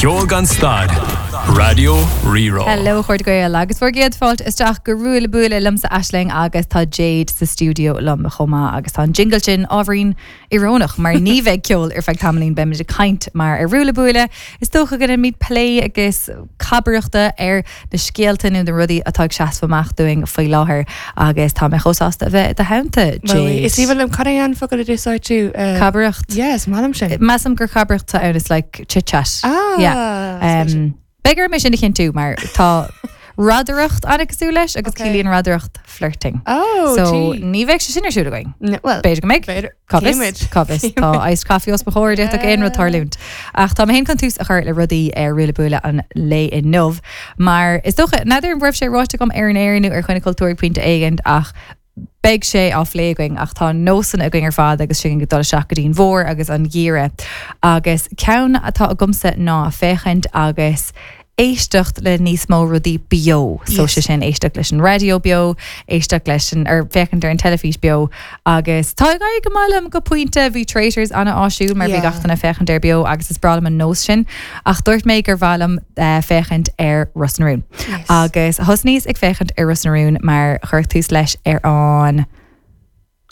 Ceol gan stad, Raidió Rí-Rá. Hello a chairde Gael agus bhur gcéad fáilte isteach go Ruaille Buaille liomsa Aisling agus tá Jade sa stiúideo liom chomh maith agus tá an jingle sin ábhairín íorónach mar ní bheidh ceol ar feadh tamaillín beimid ag caint mar ar Ruaille Buaille is dócha go ndéanfaimid plé agus cabaireachta ar na scéalta nó na rudaí atá ag seasamh amach dúinn faoi láthair agus tá mé chomh sásta a bheith i do theannta, Jade. Is aoibhinn liom, cad é an focal a d'úsáid tú? Cabaireacht. Yeah, is maith liom sin. Measaim gur cabaireacht atá ann, it's like chit chat. Ah, Yeah. Um, beidh orm é sin a chinntiú mar tá radaireacht an-cosúil leis agus Okay. ciallaíonn radaireacht flirting. Oh, So gee. ní bheidh sé sin ar siúl againn. No, well, B'fhéidir go mbeidh. b'fhéidir. Cá bhfios? Címid. Cá bhfios? Tá iced coffee os mo chomhair, d'fhéadfadh aon rud tarlúint. Ach tá mé féin chun tús a chur le rudaí ar Ruaille Buaille an lae inniu, mar is dócha, n'fheadar an raibh sé ráite agam ar an aer nó ar Choinne Cultúir ag pointe éigin ach beidh sé á phlé againn ach tá nósanna againn ar fad agus sinn ag dul isteach go dtí an bhfómhar agus an geimhreadh. Agus ceann atá agamsa ná féachaint agus éisteacht le níos mó rudaí beo. So sé sin éisteacht leis an raidió beo, éisteacht leis an, or féachaint ar an teilifís beo agus tá ag éirí go maith liom go pointe. Bhí Traitors an-áisiúil mar bhí gach duine ag féachaint air beo agus is breá liom an nós sin. Ach dúirt mé gur mhaith liom féachaint ar Ros na Rún. Agus thosnaíos ag féachaint ar Ros na Rún mar cuireadh tús leis ar an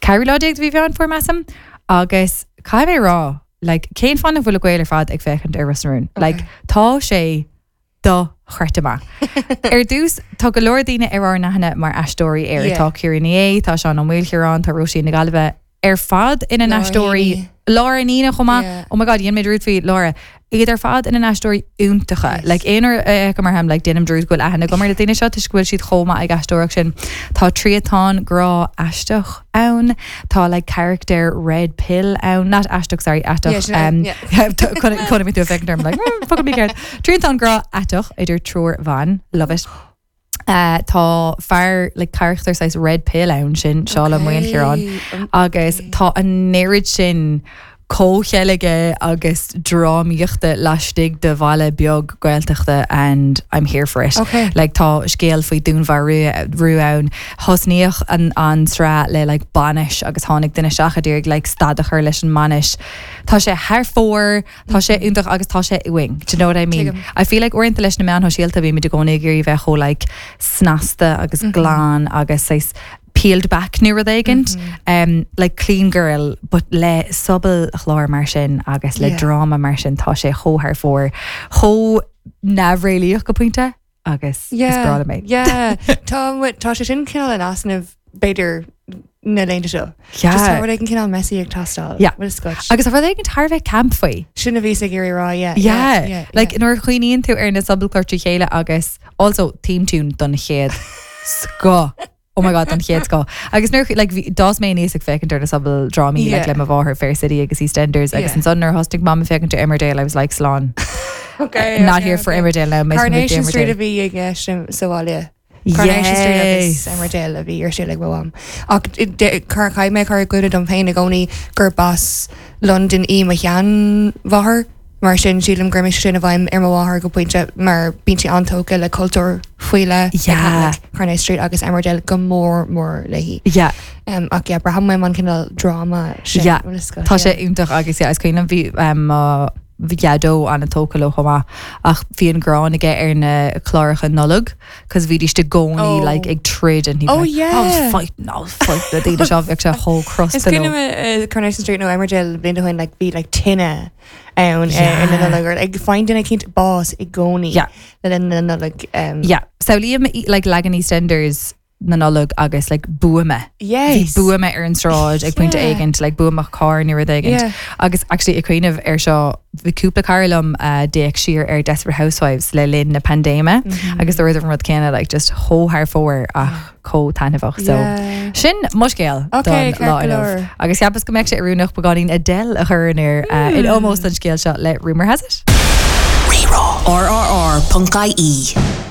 ceathrú lá déag de mhí Mheán Fómhair measaim agus caithfidh mé a rá like cén fáth nach bhfuil na Gaeil ar fad ag féachaint ar Ros na Rún? Like tá sé dochreidte maith. Ar dtús tá go leor daoine ar ár n-aithne mar aisteoirí air. Yeah. Tá Ciara Ní É, tá Seán Ó Maoilchiaráin, tá Róisín na Gaillimhe ar fad ina n-aisteoirí Laura Ní Éanaigh chomh maith. Yeah. Oh my god, dhein mé dearúd faoi Laura. Iad ar fad ina n-aisteoirí iontacha. Yes. Like aon uair a fheicim orthu, like déanaim dearúd go bhfuil aithne agam ar na daoine seo toisc go bhfuil siad chomh maith ag aisteoireacht sin. Tá triantán grá aisteach ann. Tá like character red pill ann. Not aisteach, sorry, aiteach. Yeah, sin é, Um, yeah. Chonaic mé tú ag féachaint orm like, mm, focal mícheart. Triantán grá aiteach idir triúr bhan. Love it. Tá fear like carachtar saghas red pill ann sin Seán Ó Maoilchiaráin agus tá an oiread sin comhcheilge agus drámaíochta laistigh de bhaile beag Gaeltachta and I'm here for it. Okay. Like tá scéal faoi dúnmharú ann. Thosnaíodh an an tsraith le like bainis agus tháinig duine isteach a d'iarraidh like stad a chur leis an mbainis. Tá sé thar fóir. Tá sé iontach agus tá sé uainn. Do you know what I mean? Tuigim. I feel like uaireanta leis na meáin shóisialta bímid i gcónaí ag iarraidh bheith chomh like snasta agus glan agus saghas peeled back nó rud éigint. Um, like clean girl but le sobalchlár mar sin agus le Yeah. dráma mar sin tá sé chomh thar fóir, chomh neamhréalaíoch go pointe. agus is breá liom é. Yeah, tá tá sé sin cineál in easnamh b'fhéidir na laethanta seo. Yeah. Just tá rud éigin cineál messy ag teastáil. Yeah. Bhfuil a fhios agat. Agus tá rud éigin thar a bheith camp faoi. Sin a bhíos ag iarraidh a rá, yeah. Yeah. Yeah. Like yeah. nuair a chuimhníonn tú ar na sobalchláir trí chéile agus also theme tune don chéad scoth. Oh my god, don chéad scoth. Agus nuair like bhí d'fhás mé aníos ag féachaint ar na sobaldrámaí like Yeah. le mo mháthair Fair City agus EastEnders agus Yeah. ansan nuair a thosnaigh mam ag féachaint ar Emmerdale I was like slán. Okay, Not okay, here for okay. Emmerdale now. Miss Coronation Emmerdale. Street a bhí i gceist sa bhaile. Coronation Street agus Yes. Emmerdale a bhí ar siúl ag mo mham. Ach caithfidh mé cur i gcuimhne dom féin i gcónaí gurb as Londain í mo sheanmháthair. Mar sin, sílim gur imigh sé sin i bhfeidhm ar mo mháthair go pointe mar bíonn sí an-tógtha le cultúr faoi leith, Yeah. like Coronation Street agus Emmerdale go mór mór léi. Yeah. Um, ach yeah, braithim uaim an cineál dráma sin. Yeah. bhfuil a fhios agat, Tá sé yeah. iontach agus yeah, is cuimhin liom bhí um, mo dhaideo an-tógtha leo chomh maith ach bhí an ghráin aige ar na cláracha Nollag cos bhídís i gcónaí Oh. like ag troid and he'd be Oh, like, yeah. I was fighting, I was fighting na daoine seo bheadh sé chomh Is crosta cuimhin leo. liom uh, Coronation Street nó Emmerdale blianta ó shin like bhí like tine ann uh, Yeah. in na Nollag or like faigheann duine eicínt bás i gcónaí Yeah. le linn na Nollag. Um, Yeah. Samhlaím like leagan EastEnders na Nollag agus like buama. Yes. Bhí buama ar an sráid ag pointe Yeah. éigint, like buama carr nó rud éigint. Yeah. Agus actually ag cuimhneamh ar seo bhí cúpla cara liom uh, d'fhéach siar ar Desperate Housewives le linn na paindéime Mm-hmm. agus dúradar an rud céanna like just chomh thar fóir ach chomh taitneamhach. So Yeah. sin mo scéal Okay, don lá ceart go inniu. leor. Agus cheapas go mbeadh sé oiriúnach beagáinín Adele a chur in air uh, in ómós don scéal seo le Rumour Has It. Rí-Rá. RRR.ie.